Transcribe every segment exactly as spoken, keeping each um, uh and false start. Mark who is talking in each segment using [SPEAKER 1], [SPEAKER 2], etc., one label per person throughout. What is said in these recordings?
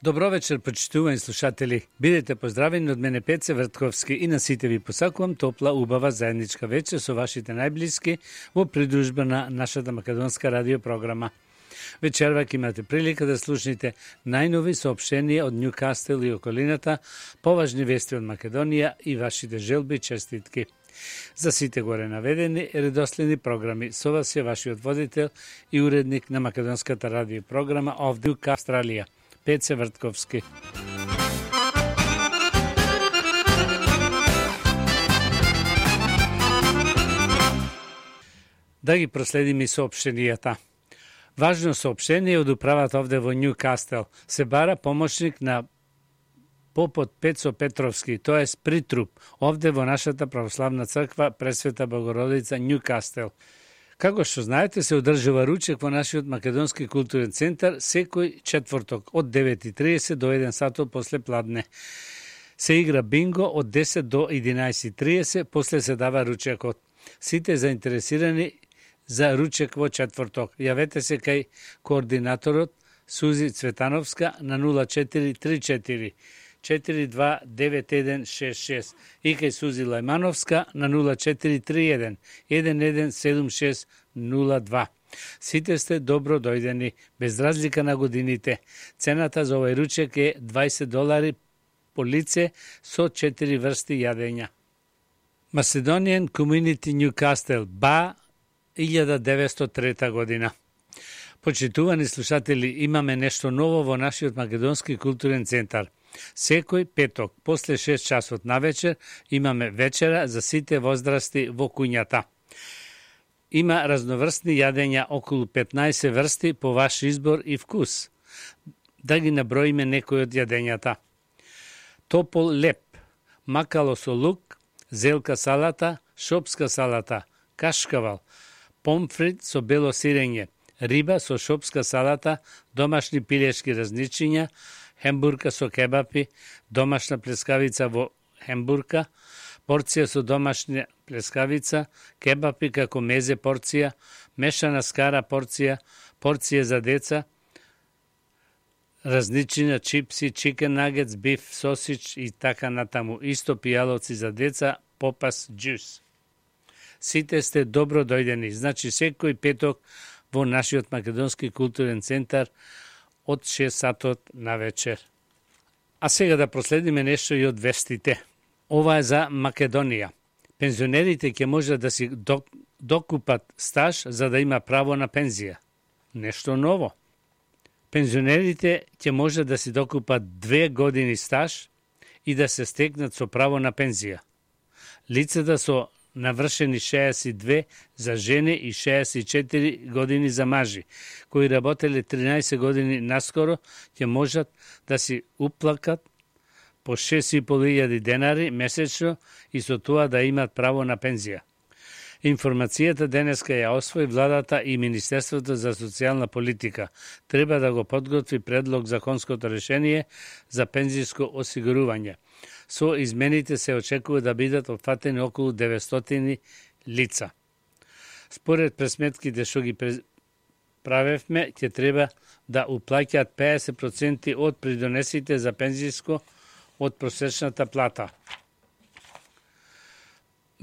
[SPEAKER 1] Добро вечер, почитувани слушатели. Бидете поздравени од мене Пеце Вртковски и на сите ви посакувам топла, убава заедничка вечер со вашите најблиски во придружба на нашата македонска радио програма. Вечерва ќе имате прилика да слушнете најнови соопштенија од Нјукастел и околината, поважни вести од Македонија и вашите желби и честитки. За сите горе наведени редоследни програми со вас е вашиот водител и уредник на македонската радио програма овде у Австралија, Пеце Вртковски. Да ги проследиме соопштенијата. Важно соопштение од управата овде во Нјукастел. Се бара помошник на попот Пецо Петровски, тоа е притруп, овде во нашата православна црква Пресвета Богородица Нјукастел. Како што знаете, се одржува ручек во нашиот македонски културен центар секој четврток од девет и триесет до еден сатот после пладне. Се игра бинго од десет до единаесет и триесет, после се дава ручекот. Сите заинтересирани за ручек во четврток, јавете се кај координаторот Сузи Цветановска на нула четири три четири четири два девет еден шест шест и кај Сузи Лајмановска на нула четири три еден еден еден седум шест нула два. Сите сте добро дојдени, без разлика на годините. Цената за овој ручек е дваесет долари по лице со четири врсти јадења. Macedonian Community Newcastle, Ба, илјада деветстотини и трета година. Почитувани слушатели, имаме нешто ново во нашиот македонски културен центар. Секој петок, после шест часот на вечер, имаме вечера за сите возрасти во куњата. Има разноврстни јадења, околу петнаесет врсти по ваш избор и вкус. Да ги наброиме некои од јадењата. Топол леп, макало со лук, зелка салата, шопска салата, кашкавал, помфрит со бело сирење, риба со шопска салата, домашни пилешки разничиња, хембурка со кебапи, домашна плескавица во хембурка, порција со домашна плескавица, кебапи како мезе порција, мешана скара порција, порција за деца, разничина, чипси, чикен нагетс, биф, сосич и така натаму. Исто пијаловци за деца, попас, джус. Сите сте добро дојдени, значи секој петок во нашиот македонски културен центар од шест сатот на вечер. А сега да проследиме нешто и од вестите. Ова е за Македонија. Пензионерите ќе можат да си докупат стаж за да има право на пензија. Нешто ново. Пензионерите ќе можат да си докупат две години стаж и да се стекнат со право на пензија. Лицата со навршени шеесет и две за жени и шеесет и четири години за мажи, кои работеле тринаесет години наскоро, ќе можат да си уплакат по шест и пол илјади денари месечно и со тоа да имат право на пензија. Информацијата денеска ја освои владата и Министерството за социјална политика. Треба да го подготви предлог законското решение за пензиско осигурување. Со измените се очекува да бидат опфатени околу деветстотини лица. Според пресметките што ги правевме, ќе треба да уплаќаат педесет проценти од придонесите за пензиско од просечната плата.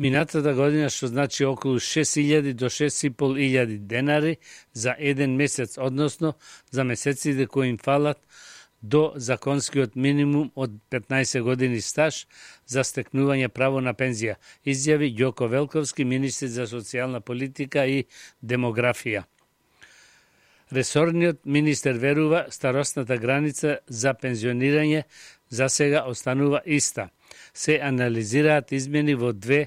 [SPEAKER 1] Минатата година, што значи околу шест илјади до шест и пол илјади денари за еден месец, односно за месеците кои им фалат до законскиот минимум од петнаесет години стаж за стекнување право на пензија, изјави Ѓоко Велковски, министер за социјална политика и демографија. Ресорниот министер верува старосната граница за пензионирање за сега останува иста. Се анализираат измени во две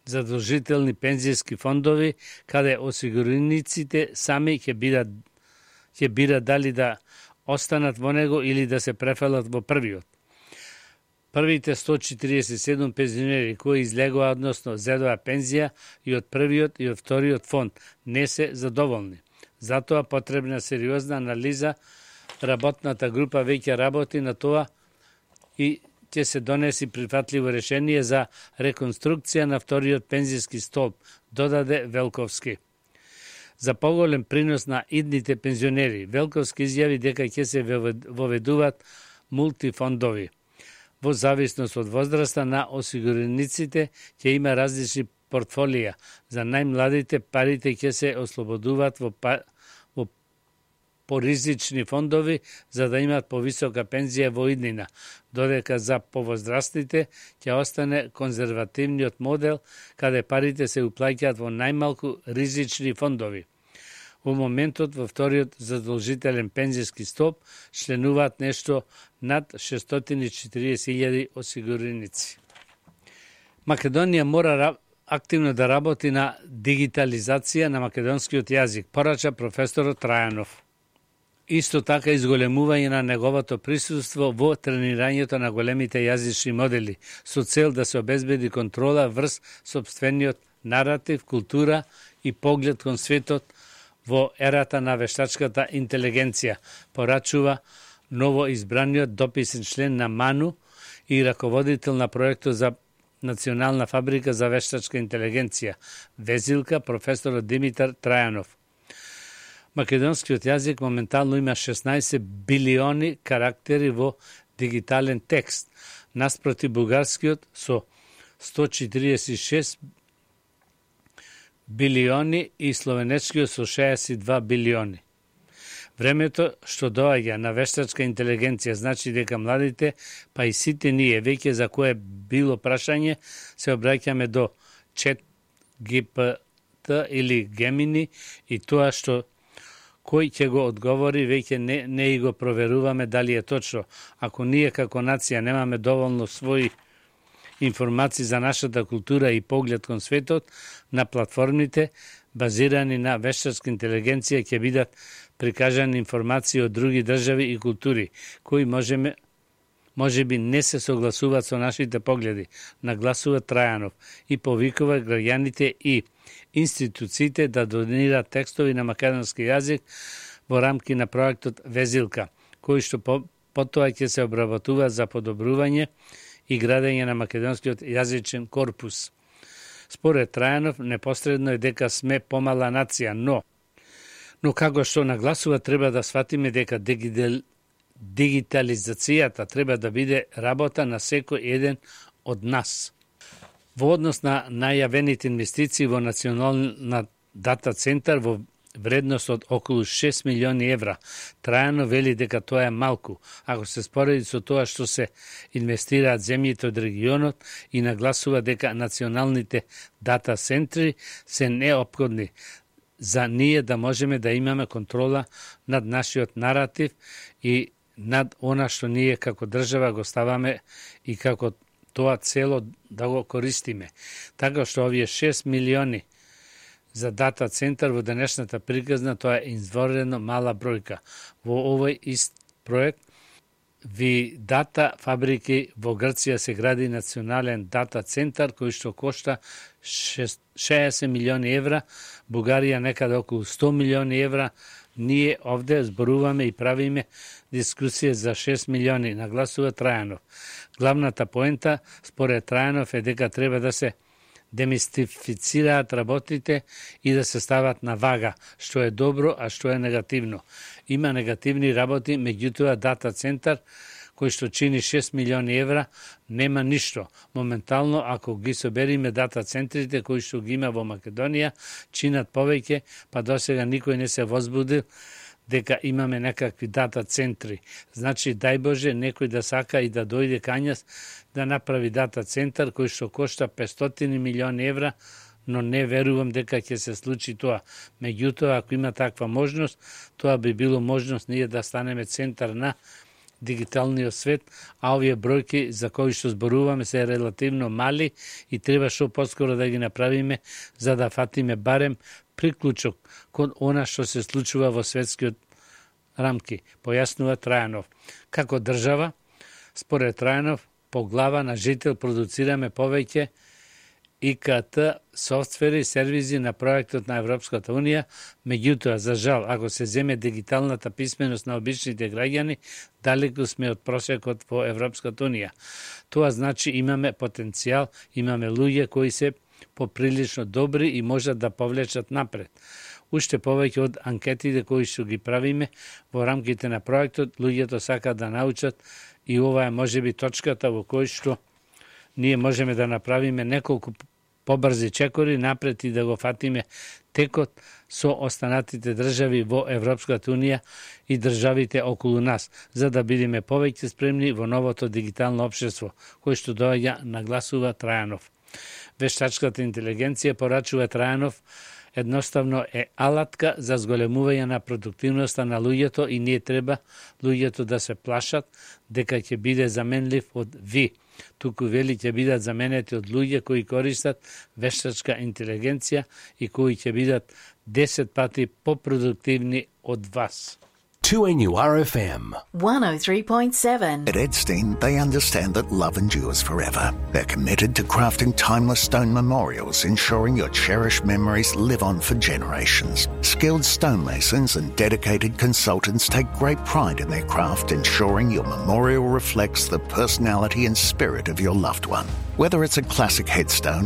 [SPEAKER 1] задолжителни пензијски фондови, каде осигурениците сами ќе бидат ќе бират дали да останат во него или да се префалат во првиот. Првите сто четириесет и седум пензионери кои излегоа, односно зедоа пензија и од првиот и од вториот фонд, не се задоволни. Затоа потребна сериозна анализа. Работната група веќе работи на тоа и ќе се донеси прифатливо решение за реконструкција на вториот пензијски столб, додаде Велковски. за поголем принос на идните пензионери. Велковски изјави дека ќе се воведуваат мултифондови. Во зависност од возраста на осигурениците ќе има различни портфолија. За најмладите парите ќе се ослободуваат во, па, во поризични фондови за да имаат повисока пензија во иднина, додека за повозрастните ќе остане конзервативниот модел каде парите се уплаќаат во најмалку ризични фондови. Во моментот во вториот задолжителен пензиски стоп членуваат нешто над шестстотини и четириесет илјади осигуреници. Македонија мора активно да работи на дигитализација на македонскиот јазик, порача професорот Трајанов. Исто така изголемување на неговото присуство во тренирањето на големите јазични модели, со цел да се обезбеди контрола врз сопствениот наратив, култура и поглед кон светот во ерата на вештачката интелигенција, порачува ново избраниот дописен член на МАНУ и раководител на проектот за Национална фабрика за вештачка интелигенција, Везилка, професорот Димитар Трајанов. Македонскиот јазик моментално има шеснаесет билиони карактери во дигитален текст, наспроти бугарскиот со сто четириесет и шест билиони и словенечкиот со шеесет и два билиони. Времето што доаѓа на вештачка интелигенција значи дека младите, па и сите ние, веќе за кое било прашање, се обраќаме до чет Джи Пи Ти или Гемини и тоа што кој ќе го одговори, веќе не, не и го проверуваме дали е точно. Ако ние како нација немаме доволно своји информации за нашата култура и поглед кон светот, на платформите, базирани на вештачка интелигенција, ќе бидат прикажани информации од други држави и култури, кои можеме, може би не се согласуваат со нашите погледи, нагласува Трајанов и повикува граѓаните и институциите да донираат текстови на македонски јазик во рамки на проектот Везилка, кои што по, потоа ќе се обработуваат за подобрување и градење на македонскиот јазичен корпус. Според Трајанов, непосредно е дека сме помала нација, но но како што нагласува, треба да сватиме дека дигитал, дигитализацијата треба да биде работа на секој еден од нас. Во однос на најавените инвестиции во национална дата центар во вредност од околу шест милиони евра, Трајано вели дека тоа е малку, ако се спореди со тоа што се инвестираат земјите од регионот и нагласува дека националните дата центри се неопходни за ние да можеме да имаме контрола над нашиот наратив и над она што ние како држава го ставаме и како тоа цело да го користиме. Така што овие шест милиони за дата центар во денешната приказна, тоа е извонредно мала бројка. Во овој ист проект ви дата фабрики во Грција се гради национален дата центар кој што кошта шеесет милиони евра, Бугарија некаде околу сто милиони евра. Ние овде зборуваме и правиме дискусија за шест милиони, нагласува Трајанов. Главната поента, според Трајанов, е дека треба да се демистифицираат работите и да се стават на вага, што е добро, а што е негативно. Има негативни работи, меѓутоа дата центар, кој што чини шест милиони евра, нема ништо. Моментално, ако ги собериме дата центрите кои што ги има во Македонија, чинат повеќе, па досега никој не се возбудил дека имаме некакви дата центри. Значи, дај Боже, некој да сака и да дојде кај нас да направи дата центар кој што кошта петстотини милиони евра, но не верувам дека ќе се случи тоа. Меѓутоа, ако има таква можност, тоа би било можност ние да станеме центар на дигиталниот свет, а овие бројки за кои што зборуваме се релативно мали и треба што поскоро да ги направиме за да фатиме барем приклучок кон она што се случува во светскиот рамки, појаснува Трајанов. Како држава, според Трајанов, по глава на жител продуцираме повеќе И К Т софтвери и сервизи на проектот на Европската Унија, меѓутоа, за жал, ако се земе дигиталната писменост на обичните граѓани, далеку сме од просекот во Европската Унија. Тоа значи имаме потенцијал, имаме луѓе кои се поприлично добри и можат да повлечат напред. Уште повеќе од анкетите кои што ги правиме во рамките на проектот, луѓето сакаат да научат и ова е можеби точката во кој што ние можеме да направиме неколку побрзи чекори напред и да го фатиме текот со останатите држави во Европската Унија и државите околу нас, за да бидеме повеќе спремни во новото дигитално општество, кој што доаѓа, нагласува Трајанов. Вештачката интелигенција, порачува Трајанов, едноставно е алатка за зголемување на продуктивноста на луѓето и не треба луѓето да се плашат дека ќе биде заменлив од ви. Туку вели ќе бидат заменети од луѓе кои користат вештачка интелигенција и кои ќе бидат десет пати попродуктивни од вас.
[SPEAKER 2] two N U R F M
[SPEAKER 3] one oh three point seven.
[SPEAKER 4] At Edstein, they understand that love endures forever. They're committed to crafting timeless stone memorials, ensuring your cherished memories live on for generations. Skilled stonemasons and dedicated consultants take great pride in their craft, ensuring your memorial reflects the personality and spirit of your loved one. Whether it's a classic headstone,